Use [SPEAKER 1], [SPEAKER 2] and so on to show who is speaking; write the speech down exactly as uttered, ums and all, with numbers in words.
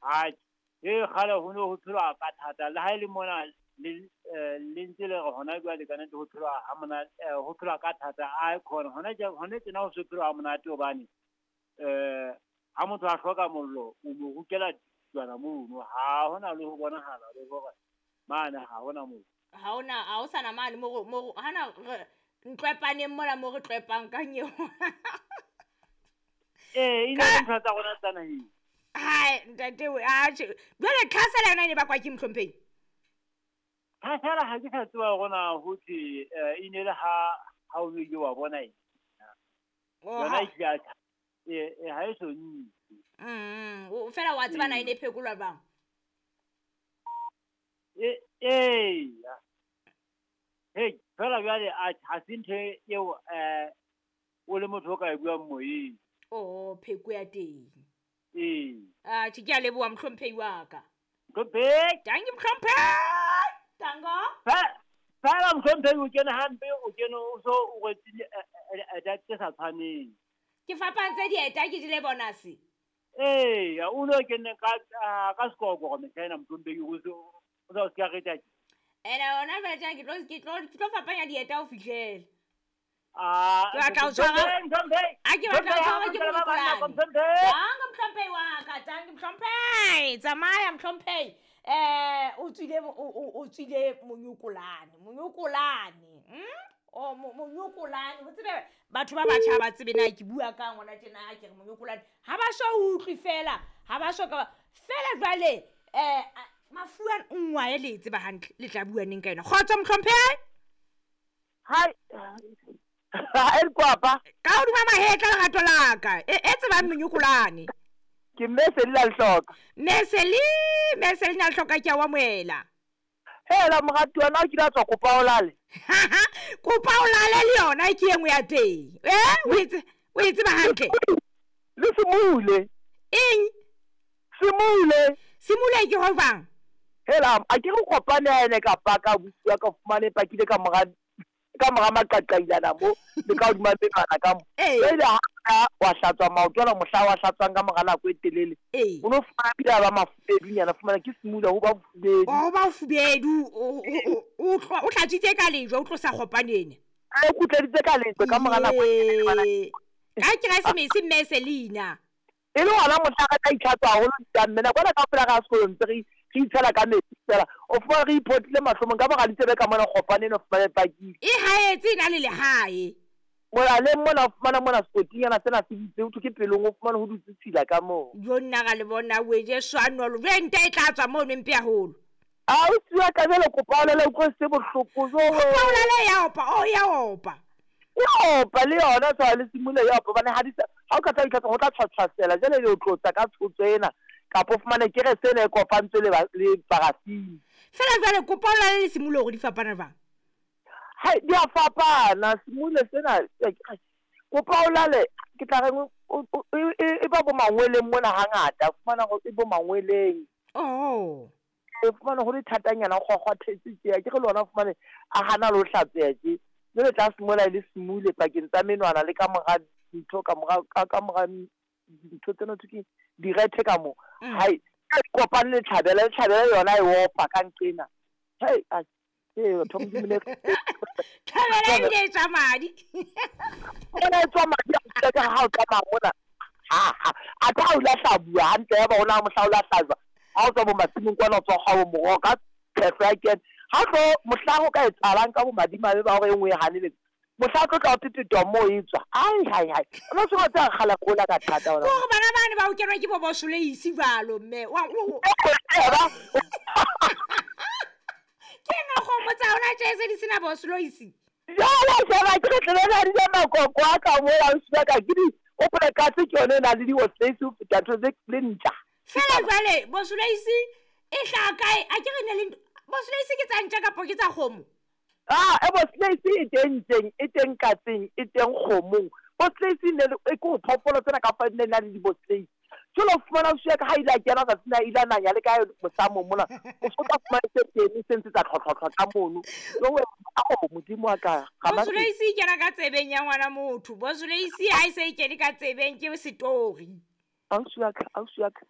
[SPEAKER 1] Atjhe, e kgale ho ne ho phelwa ka thata le ha e le mona le eh, le ntse le re hona jwale ka nnete ho phelwa ha monate, eh, ho phelwa ka thata a khona hona jwale hona tjena ho se phelwa ha monate hobane eh ha motho a hloka mollo o mo rukela tswana mono, ha hona le ho bonahala le hore mane ha hona mollo.
[SPEAKER 2] Ha hona, ha ho sana mane mo mo hana re ntlwepaneng mola mo re tlwepang ka nyeo.
[SPEAKER 1] Eh, e ne le ntho tsa rona tsa naheng.
[SPEAKER 2] Hai, ntate we, atjhe. Jwale tlhasela yona e ne bakwa ke mohlomphehi?
[SPEAKER 1] Tlhasela ha ke sa tseba hore na ho thwe e ne le ha ha o ile wa bona eng.
[SPEAKER 2] Oh,
[SPEAKER 1] Yona
[SPEAKER 2] ha-
[SPEAKER 1] e hlile ya tjha. Eh, eh, ha e so ntse.
[SPEAKER 2] Mm, o fela wa tseba na e ne phekolwa jwang?
[SPEAKER 1] Eh, eya. Hei, fela jwale a ha se ntho eo eh o le motho o ka e buang moyeng.
[SPEAKER 2] Oh, pheko ya teng.
[SPEAKER 1] Ee.
[SPEAKER 2] Atjhe, ke a leboha mohlomphehi wa ka.
[SPEAKER 1] Mohlomphehi.
[SPEAKER 2] Tanki mohlomphehi. Tango.
[SPEAKER 1] Fe- Fela mohlomphehi o kene hampe, o kene o so o rwetse di- eh, eh, eh, tse sa tshwaneng.
[SPEAKER 2] Ke fapantse dieta ke jele bonus.
[SPEAKER 1] Eya, o no kene ka ah, ka sekokoro mehla ena mohlomphehi o so o sa o ska reta.
[SPEAKER 2] Ene hona jwale tjena ke tlo ke tlo ke tlo fapanya dieta ho fihlela.
[SPEAKER 1] Ah,
[SPEAKER 2] Ke batla ho tshwara-
[SPEAKER 1] mohlomphehi.
[SPEAKER 2] A ke batla ho tshwarwa ke
[SPEAKER 1] Mohlomphehi,
[SPEAKER 2] mokolane.
[SPEAKER 1] mohlomphehi.
[SPEAKER 2] Tango mohlomphehi wa ka, tanki mohlomphehi. Tsamaya mohlomphehi. Eh, o tswile o o o tswile monyokolane, monyokolane. Mm? O mo- monyokolane. O tsebe batho ba batjha ba tsebe na ke bua ka ngwana tjena ke re monyokolane. Ha ba so utlwe fela, ha ba so ka fela jwale eh mafu a nngwe le tseba hantle le tla bua neng ka yona. Kgotso mohlomphehi.
[SPEAKER 3] Hai. Ha e kwapa.
[SPEAKER 2] Ka hodima mahetla lerato la ka. E e tsebang monyokolane.
[SPEAKER 3] Ke mme se la hloka.
[SPEAKER 2] Meseli, meseli na hloka ke a wa moela.
[SPEAKER 3] Hela morati wa na o kile a tswa kopa o lale.
[SPEAKER 2] Kopa o lale le yona ke e nngwe ya teng. Eh, o itse o e tseba hantle.
[SPEAKER 3] Le simule.
[SPEAKER 2] Eng?
[SPEAKER 3] Simule.
[SPEAKER 2] Simule ke ho jwang?
[SPEAKER 3] Hela a ke re kopane a ene ka paka bua ka fumane pakile ka mora ka mora maqaqailana mo le ka hodima menwana ka mo.
[SPEAKER 2] Ee.
[SPEAKER 3] Jwale ha ka wa hlatswa maoto ana mohla wa hlatswang ka mora nako e telele.
[SPEAKER 2] Ee.
[SPEAKER 3] O no fumana pila ba mafubedunyana fumana ke simula ho ba bofubedu.
[SPEAKER 2] O ba bofubedu, o o o o hlatswitse ka lejwe o tlosa kgopanene.
[SPEAKER 3] O kgutleditse ka lejwe ka mora nako e telele bana.
[SPEAKER 2] Ee. Ka Keresemese mme Selina.
[SPEAKER 3] E le hona mohla re tla itlhatswa haholo ditamene. Nako ena kaofela re ya sekolong ntse re re itshela ka metsi fela. O fumana re iphotlile mahlomong ka mora ditsebe ka mona kgopane eno fumane pakile.
[SPEAKER 2] E haetse e na le lehae.
[SPEAKER 3] Molaleng mona o fumana mona sekotinyana sena se ditse ho thwe ke pelong o fumane ho dutse tshila ka moo.
[SPEAKER 2] Jo nna ra le bona we Jesu a nolo. Jwale nta e tla tswa mono mpe haholo.
[SPEAKER 3] A o siwa ka jwale kopa o lele utlwe se bohloko jo.
[SPEAKER 2] Kopa o lele ya opa, o ya opa.
[SPEAKER 3] E opa le yona tshwana le simule ya opa hobane ha di sa ha o ka tla itlhatsa ho tla tshwatshwasela jwale le o tlotsa ka tshotso ena kapa o fumane kerese ena e kopantswe le ba le parafini.
[SPEAKER 2] Fela jwale kopa o lale le simule hore di fapana jwang?
[SPEAKER 3] Hai, di a fapana simule sena kopa o lale ke tla reng e ba bo mangweleng mona hangata fumana hore e bo mangweleng.
[SPEAKER 2] Oh.
[SPEAKER 3] E fumana hore thatanyana kgokgwathetse tje ke re le ona fumane a hana le ho hlatseha tje. Jwale tla simola le simule pakeng tsa menwana le ka mora dintho ka mora ka ka mora dintho tsena thwe ke direthe ka mo.
[SPEAKER 2] Mm.
[SPEAKER 3] Hai, e kopane le tlhabela, le tlhabela yona e opa ka nqena. Hei, a ke batho ba Modimo le
[SPEAKER 2] Tlhabela ebile e tswa madi.
[SPEAKER 3] Ena e tswa madi a ka ha o tsamaya mona. Ha ha. A tla o lahla bua hantle ya ba ona mohla o lahla. Ha o tswa bo masimong kwana o tswa kgwa bo moroho ka phehlo ya kene. Ha tlo mohla ho ka etsahalang ka bo madimabe ba hore e nngwe e haneletse. Mohla tlo tla o tetetwa moo e tswa. Ai hai hai. O no se wa tsaya kgala kola ka thata ona.
[SPEAKER 2] Hore bana bane ba o kenwa ke bo bosoleisi jwalo mme. Wa o Ke nna kgomo tsa hona tje se di sena bosoloisi.
[SPEAKER 3] Jwale sheba ke re tlebe na di ja makoko a ka mola o siya ka ke di o pole katse ke yone e nang le di-osleisi ho feta ntho tse le ntja.
[SPEAKER 2] Fela jwale bosoloisi e hlaha kae? A ke re ne le bosoloisi ke tsa ntja kapa ke tsa kgomo?
[SPEAKER 3] Ah, e bosoloisi e teng ntjeng, e teng katseng, e teng kgomong. Bosoloisi ne le e ke phoofolo tsena ka fa ne na le di-bosoloisi. Jwale o fumana o siya ka ha ile a kena tsatsi na ile a nanya le ka mosamo mona. O so tla fumana se teng se ntse tsa tlhotlhotlho ka mono. Jwale ao Modimo wa ka.
[SPEAKER 2] Bosoloisi e kena ka tsebeng ya ngwana motho. Bosoloisi ha e se e kene ka tsebeng ke setori.
[SPEAKER 3] Ausi wa ka, ausi wa ka.